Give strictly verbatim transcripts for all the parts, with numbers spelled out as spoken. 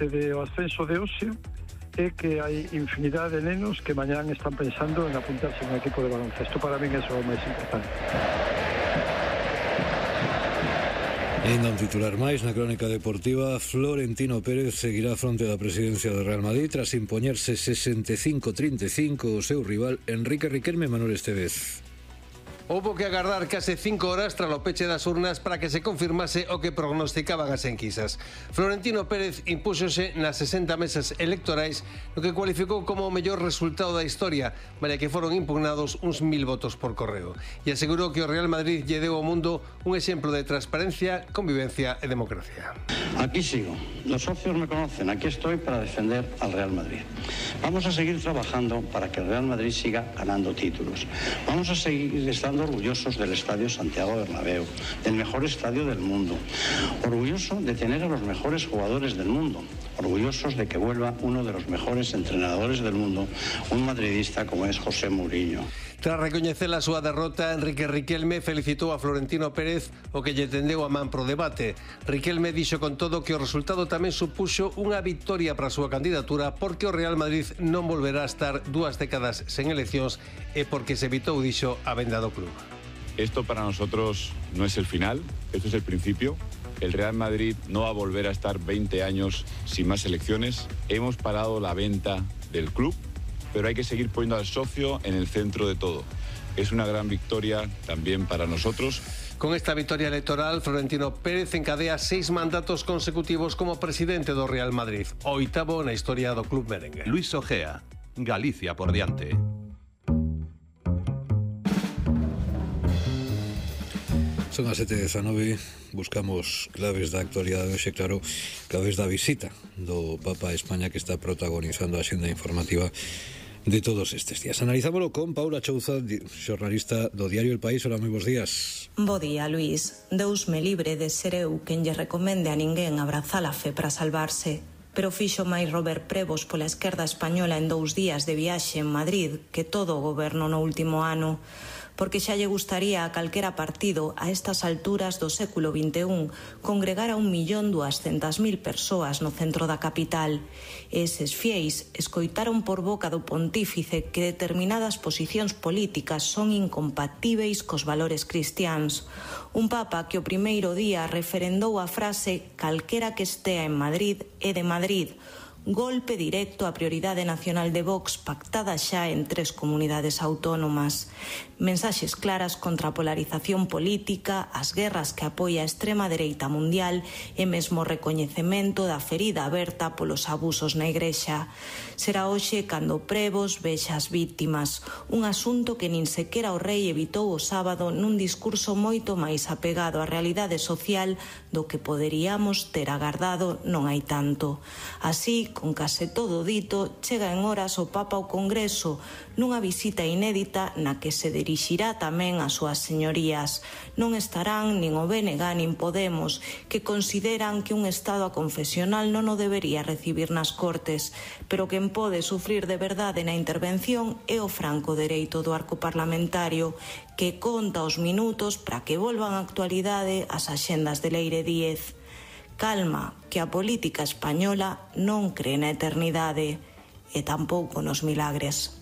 de o ascenso de hoxe é que hai infinidade de nenos que mañán están pensando en apuntarse en un equipo de baloncesto. Para min eso é o máis importante. E ainda un titular máis na crónica deportiva. Florentino Pérez seguirá fronte da presidencia do Real Madrid tras impoñerse sesenta e cinco a trinta e cinco o seu rival Enrique Riquelme e Manuel Estevez. Houbo que agardar case cinco horas tras o peche das urnas para que se confirmase o que prognosticaban as enquisas. Florentino Pérez impúxose nas sesenta mesas electorais no que cualificou como o mellor resultado da historia, malia que foron impugnados uns mil votos por correo. E asegurou que o Real Madrid lle deu ao mundo un exemplo de transparencia, convivencia e democracia. Aquí sigo. Los socios me conocen. Aquí estoy para defender al Real Madrid. Vamos a seguir trabajando para que el Real Madrid siga ganando títulos. Vamos a seguir estando orgullosos del Estadio Santiago Bernabéu, del mejor estadio del mundo, orgulloso de tener a los mejores jugadores del mundo, orgullosos de que vuelva uno de los mejores entrenadores del mundo, un madridista como es José Mourinho. Tras recoñecer a súa derrota, Enrique Riquelme felicitou a Florentino Pérez, o que lle tendeu a man pro debate. Riquelme dixo con todo que o resultado tamén supuxo unha victoria para a súa candidatura, porque o Real Madrid non volverá a estar dúas décadas sen eleccións e porque se evitou, dixo, a venda do club. Esto para nosotros no es el final, esto es el principio. El Real Madrid no va a volver a estar veinte años sin más elecciones. Hemos parado la venta del club, pero hay que seguir poniendo al socio en el centro de todo. Es una gran victoria también para nosotros. Con esta victoria electoral, Florentino Pérez encadea seis mandatos consecutivos como presidente do Real Madrid, o oitavo na historia do club merengue. Luis Ojea, Galicia por diante. Son as sete e dezanove, buscamos claves da actualidade hoxe, claro, claves da visita do Papa a España, que está protagonizando a xenda informativa de todos estes días. Analizámoslo con Paula Chouza, xornalista do diario El País. Hola, moi bons días. Bo día, Luís. Deus me libre de ser eu quen lle recomende a ninguén abrazar a fe para salvarse. Pero fixo máis Robert Prebos pola esquerda española en dous días de viaxe en Madrid que todo o goberno no último ano, porque xa lle gustaría a calquera partido a estas alturas do século vinte e un congregar a un millón duascentas mil persoas no centro da capital. Eses fieis escoitaron por boca do pontífice que determinadas posicións políticas son incompatíveis cos valores cristiáns. Un papa que o primeiro día referendou a frase "calquera que estea en Madrid é de Madrid", golpe directo á prioridade nacional de Vox pactada xa en tres comunidades autónomas. Mensaxes claras contra a polarización política, as guerras que apoia a extrema dereita mundial e mesmo recoñecemento da ferida aberta polos abusos na Igrexa. Será hoxe cando Prebos vexa as vítimas, un asunto que nin sequera o rei evitou o sábado nun discurso moito máis apegado á realidade social do que poderíamos ter agardado non hai tanto. Así, con case todo dito, chega en horas o Papa ao Congreso nunha visita inédita na que se dirixirá tamén ás súas señorías. Non estarán nin o B N G nin Podemos, que consideran que un Estado aconfesional non o debería recibir nas Cortes, pero quen pode sufrir de verdade na intervención é o franco dereito do arco parlamentario, que conta os minutos para que volvan á actualidade as axendas de Leire Díez. Calma, que a política española non cree na eternidade e tampouco nos milagres.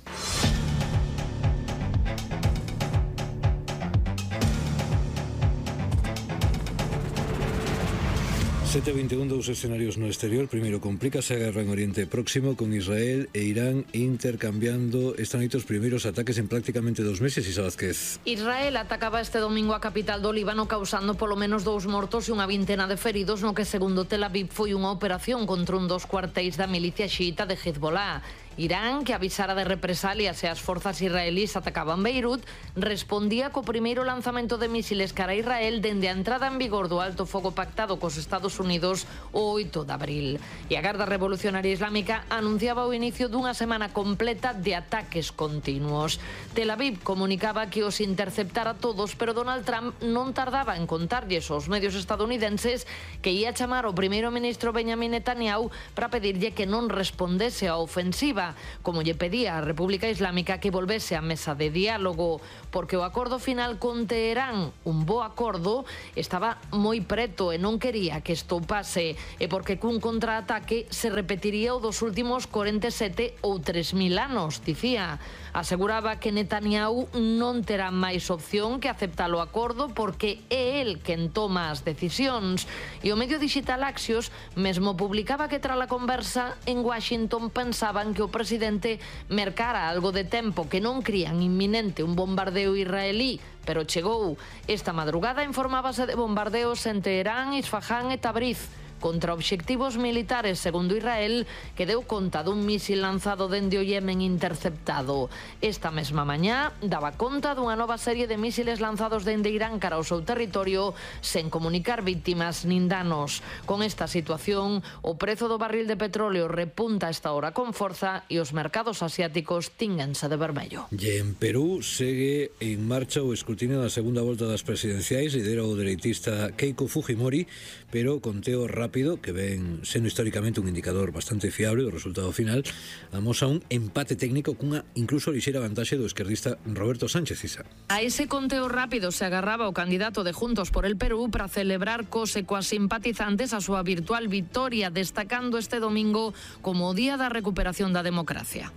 sete e vinte e un, dous escenarios no exterior. Primeiro, complícase a guerra en Oriente Próximo, con Israel e Irán intercambiando esta noite os primeiros ataques en prácticamente dos meses. Isa Vázquez. Israel atacaba este domingo a capital do Líbano, causando polo menos dous mortos e unha vintena de feridos, no que, segundo Tel Aviv, foi unha operación contra un dos cuartéis da milicia xiita de Hezbollah. Irán, que avisara de represalias e as forzas israelís atacaban Beirut, respondía co primeiro lanzamento de misiles cara a Israel dende a entrada en vigor do alto fogo pactado cos Estados Unidos o oito de abril. E a Garda Revolucionaria Islámica anunciaba o inicio dunha semana completa de ataques continuos. Tel Aviv comunicaba que os interceptara todos, pero Donald Trump non tardaba en contarlles aos medios estadounidenses que ia chamar ao primeiro ministro Benjamin Netanyahu para pedirlle que non respondese á ofensiva. Europa, como lle pedía a República Islámica que volvese á mesa de diálogo, porque o acordo final con Teherán, un bo acordo, estaba moi preto e non quería que estoupase, e porque cun contraataque se repetiría o dos últimos corenta e sete ou tres mil anos, dicía. Aseguraba que Netanyahu non terá máis opción que aceptar o acordo porque é el quen toma as decisións. E o medio digital Axios mesmo publicaba que tras a conversa en Washington pensaban que o presidente mercara algo de tempo, que non crían inminente un bombardeo israelí, pero chegou. Esta madrugada informábase de bombardeos en Teherán, Isfahán e Tabriz contra obxectivos militares, segundo Israel, que deu conta dun mísil lanzado dende o Yemen interceptado. Esta mesma mañá daba conta dunha nova serie de mísiles lanzados dende Irán cara ao seu territorio sen comunicar víctimas nin danos. Con esta situación, o prezo do barril de petróleo repunta a esta hora con forza e os mercados asiáticos tínganse de vermello. E en Perú segue en marcha o escrutinio da segunda volta das presidenciais, lidera o dereitista Keiko Fujimori, pero conteo rápido rápido, que ven sendo históricamente un indicador bastante fiable do resultado final, amosa un empate técnico cunha incluso lixeira vantaxe do esquerdista Roberto Sánchez Isa. A ese conteo rápido se agarraba o candidato de Juntos por el Perú para celebrar cos e coas simpatizantes a súa virtual victoria, destacando este domingo como o día da recuperación da democracia.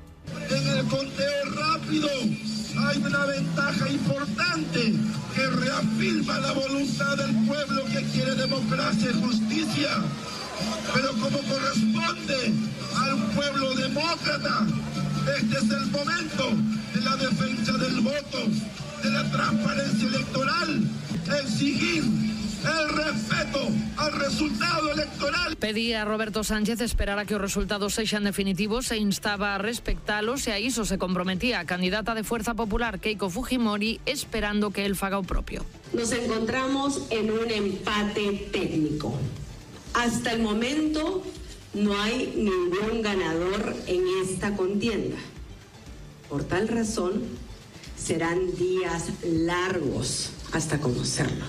En el conteo rápido hay una ventaja importante que reafirma la voluntad del pueblo que quiere democracia y justicia. Pero como corresponde al pueblo demócrata, este es el momento de la defensa del voto, de la transparencia electoral, exigir el respeto al resultado electoral. Pedía a Roberto Sánchez esperar a que os resultados sexan definitivos e instaba a respectalos, e a iso se comprometía a candidata de Fuerza Popular Keiko Fujimori, esperando que él faga o propio. Nos encontramos en un empate técnico. Hasta el momento no hay ningún ganador en esta contienda. Por tal razón, serán días largos hasta conocerlo.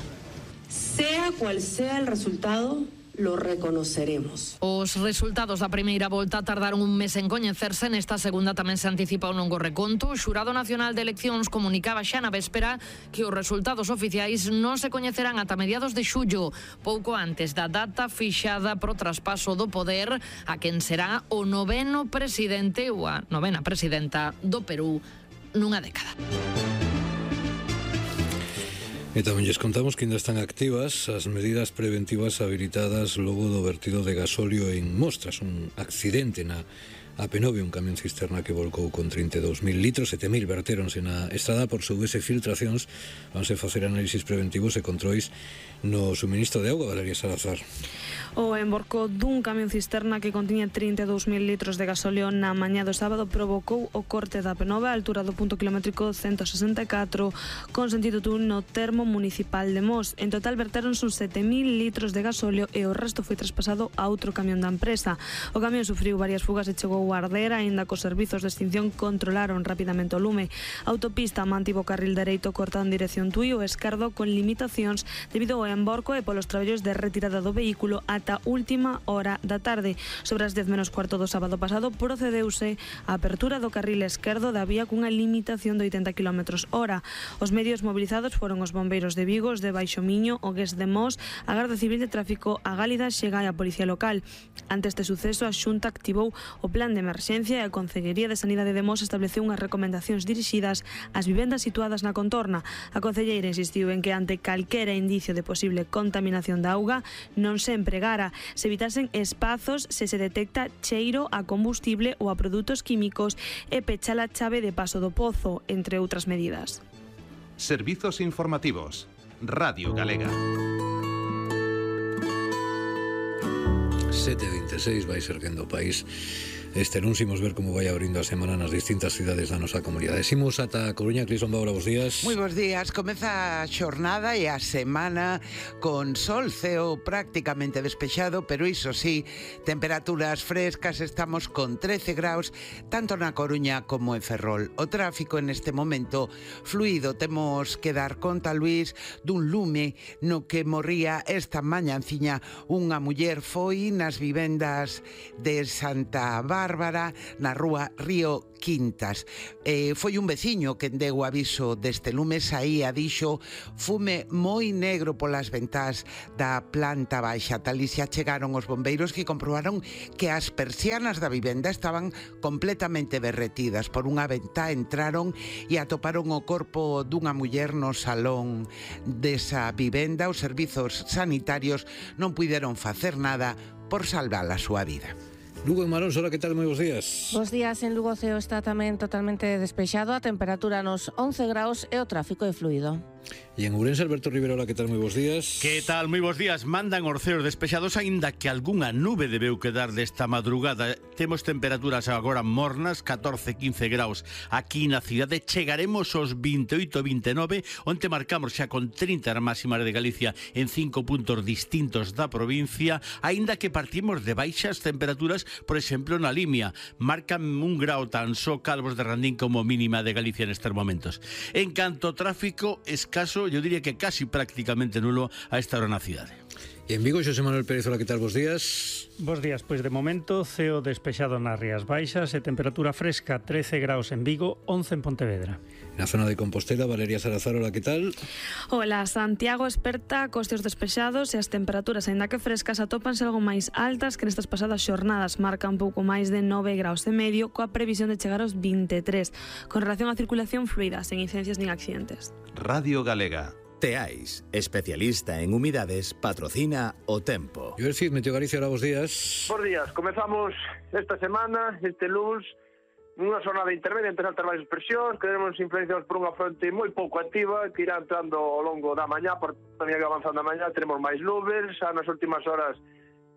Sea cual sea el resultado, lo reconoceremos. Os resultados da primeira volta tardaron un mes en coñecerse. Nesta segunda tamén se anticipa un longo reconto. O Xurado Nacional de Eleccións comunicaba xa na véspera que os resultados oficiais non se coñecerán ata mediados de xullo, pouco antes da data fixada pro traspaso do poder a quen será o noveno presidente ou a novena presidenta do Perú nunha década. E tamén lles contamos que ainda están activas as medidas preventivas habilitadas logo do vertido de gasóleo en Mostras, un accidente na A P nove, un camión cisterna que volcou con trinta e dous mil litros, sete mil vertéronse na estrada. Por soubese filtracións, vanse facer análisis preventivos e controis no suministro de auga. Valeria Salazar. O emborco dun camión cisterna que contiña trinta e dous mil litros de gasóleo na mañá do sábado provocou o corte da A P nove á altura do punto kilométrico ciento sesenta e catro con sentido Tui no termo municipal de Mos. En total vertéronse uns sete mil litros de gasóleo e o resto foi traspasado a outro camión da empresa. O camión sufriu varias fugas e chegou a arder, aínda que os servizos de extinción controlaron rapidamente o lume. A autopista mantivo o carril dereito cortado en dirección Tui, o esquerdo con limitacións debido ao emborco e polos traballos de retirada do vehículo ata última hora da tarde. Sobre as dez menos cuarto do sábado pasado procedeuse a apertura do carril esquerdo da vía cunha limitación de oitenta kilómetros hora. Os medios movilizados foron os bombeiros de Vigo, os de Baixo Miño, o Gués de Mos, a Garda Civil de Tráfico, a Gálida, Xega e a Policía Local. Ante este suceso, a Xunta activou o plan de emerxencia e a Concellería de Sanidade de Mos estableceu unhas recomendacións dirixidas ás vivendas situadas na contorna. A concelleira insistiu en que ante calquera indicio de posible contaminación da auga non se empregara, se evitasen espazos se se detecta cheiro a combustible ou a produtos químicos e pechar a chave de paso do pozo, entre outras medidas. Servizos informativos. Radio Galega. sete e vinte e seis vai ser quendo o país este non simos ver como vai abrindo a semana nas distintas cidades da nosa comunidade. Simos ata a Coruña. Clison Baura, bos días. Moi bos días. Comeza a xornada e a semana con sol, ceo prácticamente despexado, pero iso sí, temperaturas frescas. Estamos con trece graus, tanto na Coruña como en Ferrol. O tráfico en este momento fluido. Temos que dar conta, Luís, dun lume no que morría esta mañanciña unha muller. Foi nas vivendas de Santa Bárbara, Bárbara na rúa Río Quintas. Eh, foi un veciño que deu o aviso deste lume, saía, dixo, fume moi negro polas ventás da planta baixa. Talicia chegaron os bombeiros que comprobaron que as persianas da vivenda estaban completamente derretidas. Por unha ventá entraron e atoparon o corpo dunha muller no salón desa vivenda. Os servizos sanitarios non puideron facer nada por salvar a súa vida. Lugo en Marón, hola, que tal? Moi bons días. Bos días, en Lugo o ceo está tamén totalmente despexado, a temperatura nos once graus e o tráfico é fluido. E en Ourense, Alberto Rivera, hola, que tal? Moi bons días. Que tal? Moi bons días. Mandan os ceos despexados, aínda que algunha nube debeu quedar desta madrugada. Temos temperaturas agora mornas, catorce, quince graus aquí na cidade. Chegaremos aos vinte e oito, vinte e nove, onde marcamos xa con trinta a máxima de Galicia en cinco puntos distintos da provincia, aínda que partimos de baixas temperaturas, por exemplo, na Limia. Marcan un grau tan só Calvos de Randín como mínima de Galicia nestes momentos. En canto ao tráfico, escaso, yo diría que casi prácticamente nulo a esta hora na cidade. E en Vigo, Xosé Manuel Pérez, hola, que tal? Bos días. Bos días, pois de momento ceo despexado nas Rías Baixas e temperatura fresca, trece graus en Vigo, once en Pontevedra. Na zona de Compostela, Valeria Salazar, hola, que tal? Hola, Santiago esperta cos ceos despexados e as temperaturas, aínda que frescas, atópanse algo máis altas que nestas pasadas xornadas. Marca un pouco máis de nove graus e medio, coa previsión de chegar aos vinte e tres. Con relación á circulación fluida, sen incidencias nin accidentes. Radio Galega. Teais, especialista en humidades, patrocina o tempo. Yo el Cid, Meteo Galicia, hola, bos días. Bos días, comezamos esta semana, este lunes, nunha jornada intermedia entre altas baixas presións, que teremos influenciados por unha fronte moi pouco activa, que irá entrando ao longo da mañá, por tamén que avanzando a mañá teremos máis nubes, xa nas últimas horas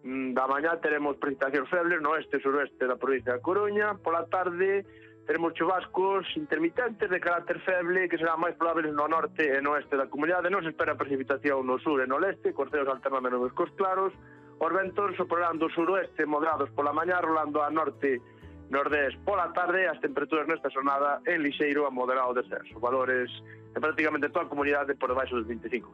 da mañá teremos precipitacións febles no oeste e suroeste da provincia da Coruña, pola tarde teremos chubascos intermitentes de carácter feble que serán máis probables no norte e no oeste da comunidade. Non se espera precipitación no sur e no leste, cos ceos alternando nubes cos claros. Os ventos soprarán do suroeste moderados pola mañá, rolando a norte nordés pola tarde. As temperaturas nesta xornada en lixeiro a moderado descenso. Valores en prácticamente toda a comunidade por debaixo dos vinte e cinco.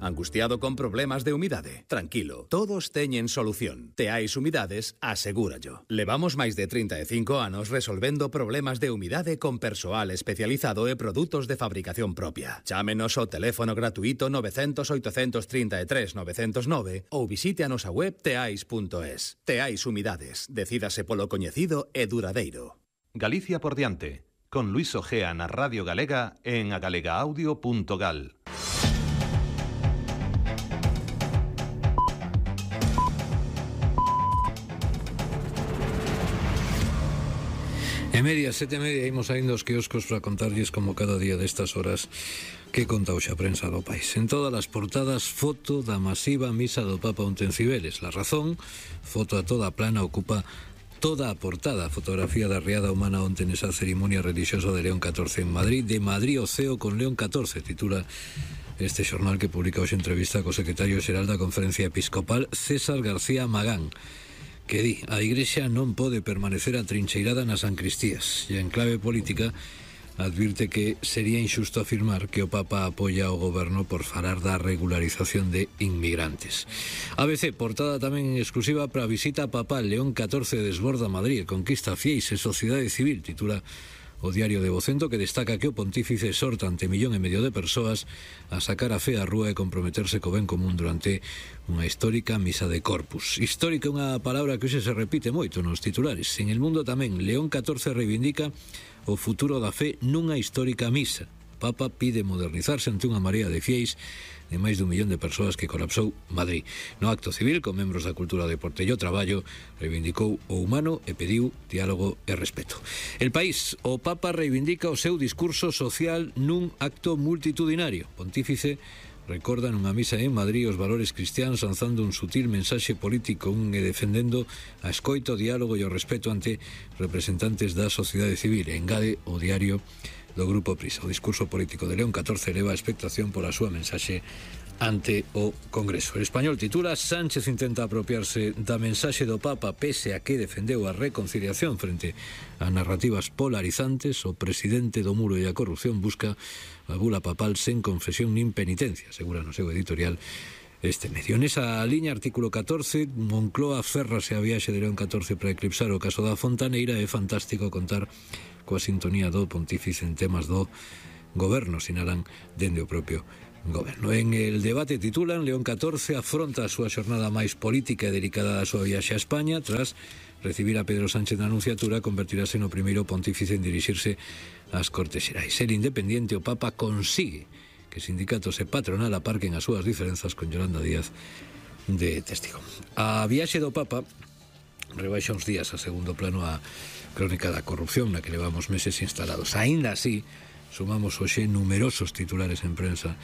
Angustiado con problemas de humidade? Tranquilo, todos teñen solución. Teais Humidades, asegúrallo. Levamos máis de trinta e cinco anos resolvendo problemas de humidade con persoal especializado e produtos de fabricación propia. Chámenos ao teléfono gratuito nove cero cero, oito tres tres, nove cero nove ou visite a nosa web teais punto es. Teais Humidades, decídase polo coñecido e duradeiro. Galicia por diante, con Luis Ojea na Radio Galega en agalegaudio punto gal. E media, sete e media, imos saindo aos quioscos para contarlles como cada día destas horas que conta hoxe a prensa do país. En todas as portadas, foto da masiva misa do Papa onte en Cibeles. La Razón, foto a toda plana, ocupa toda a portada. Fotografía da riada humana onte nesa cerimonia religiosa de León catorce en Madrid. De Madrid o ceo con León catorce, titula este xornal que publica hoxe entrevista co secretario xeral da Conferencia Episcopal, César García Magán, que di, a Igrexa non pode permanecer atrincheirada nas sancristías, e en clave política advirte que sería injusto afirmar que o Papa apoia o goberno por falar da regularización de inmigrantes. A B C, portada tamén exclusiva para a visita papal. León catorce desborda Madrid, conquista fieis e sociedade civil, titula o diario de Vocento, que destaca que o pontífice exhorta ante millón e medio de persoas a sacar a fe á rúa e comprometerse co ben común durante unha histórica misa de Corpus. Histórica é unha palabra que hoxe se repite moito nos titulares. En El Mundo tamén, León catorce reivindica o futuro da fe nunha histórica misa. Papa pide modernizarse ante unha marea de fieis de máis dun millón de persoas que colapsou Madrid. No acto civil, con membros da cultura, deporte e o traballo, reivindicou o humano e pediu diálogo e respeto. El País, o Papa reivindica o seu discurso social nun acto multitudinario. Pontífice recorda nunha misa en Madrid os valores cristianos, lanzando un sutil mensaxe político un e defendendo a escoita, o diálogo e o respeto ante representantes da sociedade civil. E engade o diario do Grupo Prisa. O discurso político de León catorce eleva a expectación pola súa mensaxe ante o Congreso. El Español titula: Sánchez intenta apropiarse da mensaxe do Papa pese a que defendeu a reconciliación frente a narrativas polarizantes. O presidente do muro e a corrupción busca a bula papal sen confesión nin penitencia, asegura no seu editorial este medio. Nesa liña, artículo catorce, Moncloa férrase a viaxe de León catorce para eclipsar o caso da Fontaneira. É fantástico contar coa sintonía do pontífice en temas do goberno, sinalan dende o propio goberno. En el debate titulan: León catorce afronta a súa xornada máis política e delicada da súa viaxe a España. Tras recibir a Pedro Sánchez na anunciatura, convertirase no primeiro pontífice en dirixirse ás Cortes Xerais. El independiente, o Papa consigue que sindicatos e patronal aparquen as súas diferenzas con Yolanda Díaz de testigo. A viaxe do Papa rebaixa uns días a segundo plano a crónica da corrupción na que levamos meses instalados. Aínda así, sumamos hoxe numerosos titulares en prensa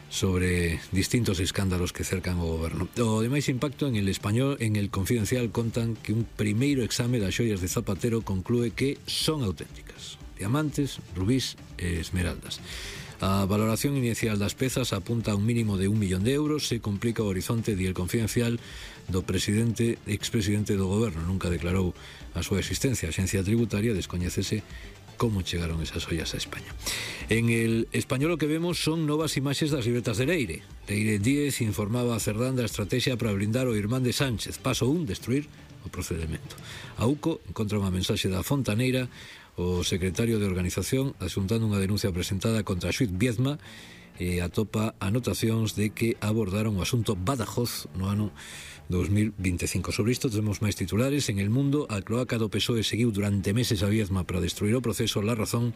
sobre distintos escándalos que cercan o goberno. O de máis impacto, en el Español, en el Confidencial, contan que un primeiro exame das xoias de Zapatero conclúe que son auténticas: diamantes, rubís e esmeraldas. A valoración inicial das pezas apunta a un mínimo de un millón de euros. Se complica o horizonte, di el Confidencial, do presidente, expresidente do goberno. Nunca declarou a súa existencia. A Axencia Tributaria descoñécese como chegaron esas ollas a España. En el Español o que vemos son novas imaxes das libretas de Leire. Leire Díez informaba a Cerdán da estrategia para blindar o irmán de Sánchez. Paso un, destruir o procedimento. A U C O encontra unha mensaxe da Fontaneira, o secretario de Organización, asuntando unha denuncia presentada contra Xuiz Viezma, e atopa anotacións de que abordaron o asunto Badajoz no ano dos mil veinticinco. Sobre isto temos máis titulares. En El Mundo, a cloaca do P S O E seguiu durante meses a Viezma para destruir o proceso. La Razón: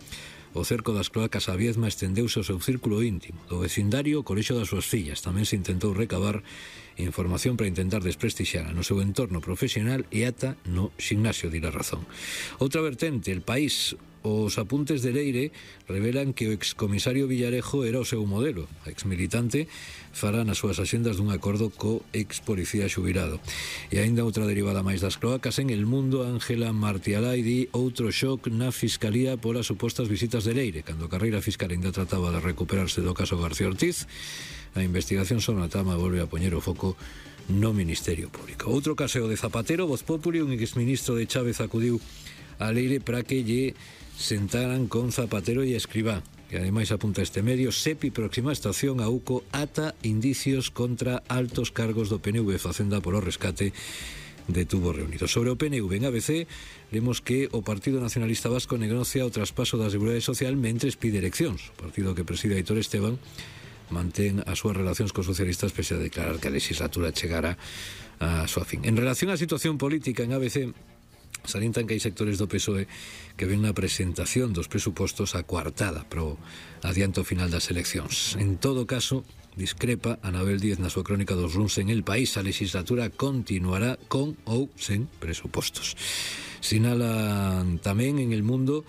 o cerco das cloacas a Viezma estendeuse ao seu círculo íntimo. Do vecindario, o colexio das súas fillas. Tamén se intentou recabar información para intentar desprestixiar no seu entorno profesional e ata no ximnasio, di La Razón. Outra vertente, El País: os apuntes de Leire revelan que o excomisario Villarejo era o seu modelo. A exmilitante fará nas súas axendas dun acordo co expolicía xubilado. E aínda outra derivada máis das cloacas. En El Mundo, Ángela Martialai di outro shock na Fiscalía polas supostas visitas de Leire. Cando a carreira fiscal ainda trataba de recuperarse do caso García Ortiz, a investigación sobre a trama volve a poñer o foco no Ministerio Público. Outro caseo de Zapatero: Voz Populi, un exministro de Chávez acudiu a Leire para que lle sentaran con Zapatero e Escrivá. E ademais apunta este medio: Sepi próxima estación a U C O ata indicios contra altos cargos do P N V. Facenda polo rescate de tubos reunidos. Sobre o P N V, en A B C vemos que o Partido Nacionalista Vasco negocia o traspaso da Seguridade Social mentres pide eleccións. O partido que preside Aitor Esteban mantén as súas relacións cos socialistas pese a declarar que a legislatura chegara a súa fin. En relación á situación política, en A B C salientan que hai sectores do P S O E que ven na presentación dos presupostos a coartada pro adianto final das eleccións. En todo caso, discrepa Anabel Díez na súa crónica dos luns en El País: a legislatura continuará con ou sen presupostos. Sinalan tamén en El Mundo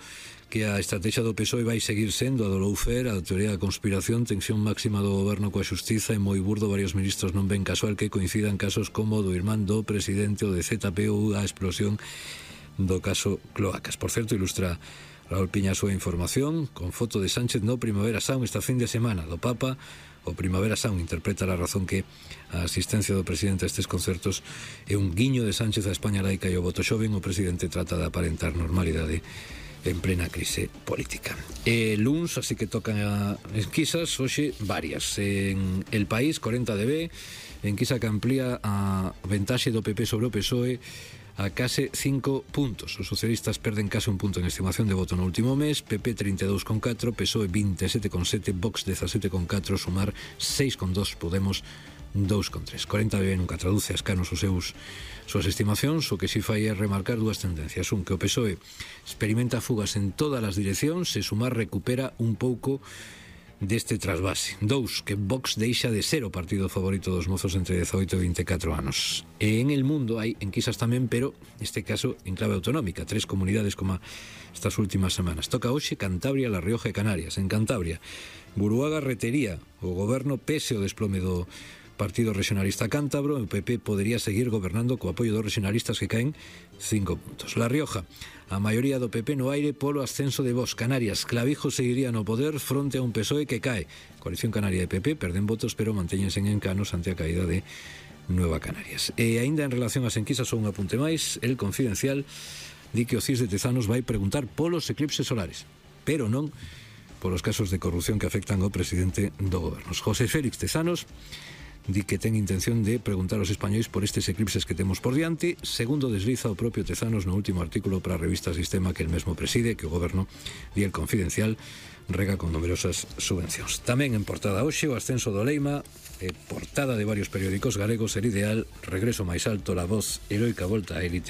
que a estrategia do P S O E vai seguir sendo a do lawfare, a da teoría da conspiración, tensión máxima do goberno coa xustiza, e moi burdo varios ministros non ven casual que coincidan casos como o do irmán do presidente, o de Z P ou a explosión do caso Cloacas. Por certo, ilustra Raúl Piña a súa información con foto de Sánchez no Primavera Sound esta fin de semana. Do Papa, o Primavera Sound interpreta La Razón que a asistencia do presidente a estes concertos é un guiño de Sánchez a España laica e o voto xoven. O presidente trata de aparentar normalidade en plena crise política. E luns, así que tocan a enquisas, hoxe varias. En El País, corenta de B, enquisa que amplía a ventaxe do P P sobre o P S O E a case cinco puntos. Os socialistas perden case un punto en estimación de voto no último mes. P P trinta e dous con catro, P S O E vinte e sete con sete, Vox dezasete con catro, Sumar seis con dos, Podemos dous con tres. corenta de B nunca traduce a escanos os seus súas estimacións. O que si fai é remarcar dúas tendencias: un, que o P S O E experimenta fugas en todas as direccións e Sumar recupera un pouco deste trasvase. Dous, que Vox deixa de ser o partido favorito dos mozos entre dezaoito e vinte e catro anos. E en El Mundo hai enquisas tamén, pero neste caso en clave autonómica. Tres comunidades como estas últimas semanas. Toca hoxe Cantabria, La Rioja e Canarias. En Cantabria, Buruaga retería o goberno pese o desplome do Partido Regionalista Cántabro. O P P podería seguir gobernando co apoio dos regionalistas que caen cinco puntos. La Rioja, a maioría do P P no aire polo ascenso de Vox. Canarias, Clavijo seguiría no poder fronte a un P S O E que cae. Coalición Canaria e P P perden votos, pero mantéñense en encanos ante a caída de Nueva Canarias. E aínda en relación ás enquisas, só un apunte máis: El Confidencial di que o C I S de Tezanos vai preguntar polos eclipses solares, pero non polos casos de corrupción que afectan ao presidente do goberno. José Félix Tezanos di que ten intención de preguntar aos españois por estes eclipses que temos por diante, segundo desliza o propio Tezanos no último artículo para a revista Sistema que el mesmo preside, que o goberno di El Confidencial rega con numerosas subvencións. Tamén en portada hoxe o ascenso do Leima, eh, portada de varios periódicos galegos, El Ideal, regreso máis alto, La Voz, heroica volta á élite